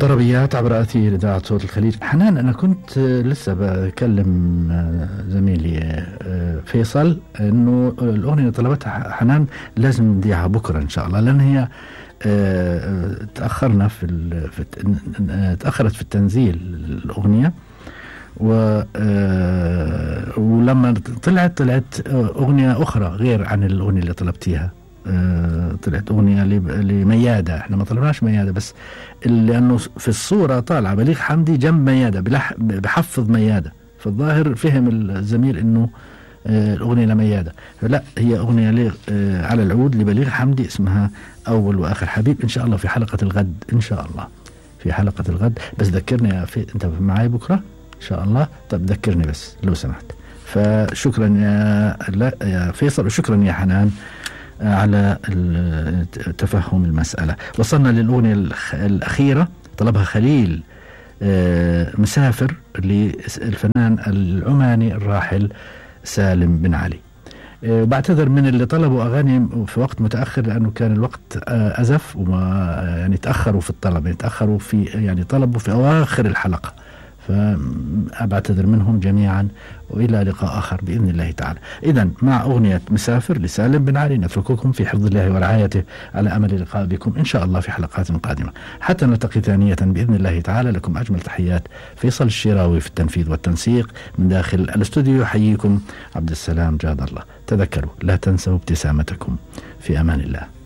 طربيات عبر أثير إذاعة صوت الخليج. حنان، أنا كنت لسه بكلم زميلي فيصل إنه الأغنية اللي طلبتها حنان لازم نذيعها بكرة إن شاء الله، لأن هي تأخرنا تأخرت في التنزيل الأغنية، ولما طلعت أغنية أخرى غير عن الأغنية اللي طلبتيها. طلعت أغنية لميادة، احنا ما طلبناش ميادة، بس لأنه في الصورة طالعة بليغ حمدي جنب ميادة بحفظ ميادة، فالظاهر فهم الزميل إنه الأغنية لميادة، لا هي أغنية على العود لبليغ حمدي اسمها أول وآخر حبيب. إن شاء الله في حلقة الغد، إن شاء الله في حلقة الغد. بس ذكرني أنت معي بكرة إن شاء الله. طب ذكرني بس لو سمحت. فشكرا يا فيصل، وشكرا يا حنان على تفهم المسألة. وصلنا للأغنية الأخيرة طلبها خليل مسافر للفنان العماني الراحل سالم بن علي. بعتذر من اللي طلبوا أغاني في وقت متأخر لأنه كان الوقت أزف، وما يعني تأخروا في الطلب، يتأخروا في يعني طلبوا في أواخر الحلقة، فأبعتذر منهم جميعا، وإلى لقاء آخر بإذن الله تعالى. إذن مع أغنية مسافر لسالم بن علي نترككم في حفظ الله ورعايته، على أمل اللقاء بكم إن شاء الله في حلقات قادمة حتى نلتقي ثانية بإذن الله تعالى. لكم أجمل تحيات فيصل الشراوي في التنفيذ والتنسيق من داخل الاستوديو. يحييكم عبد السلام جاد الله. تذكروا لا تنسوا ابتسامتكم. في أمان الله.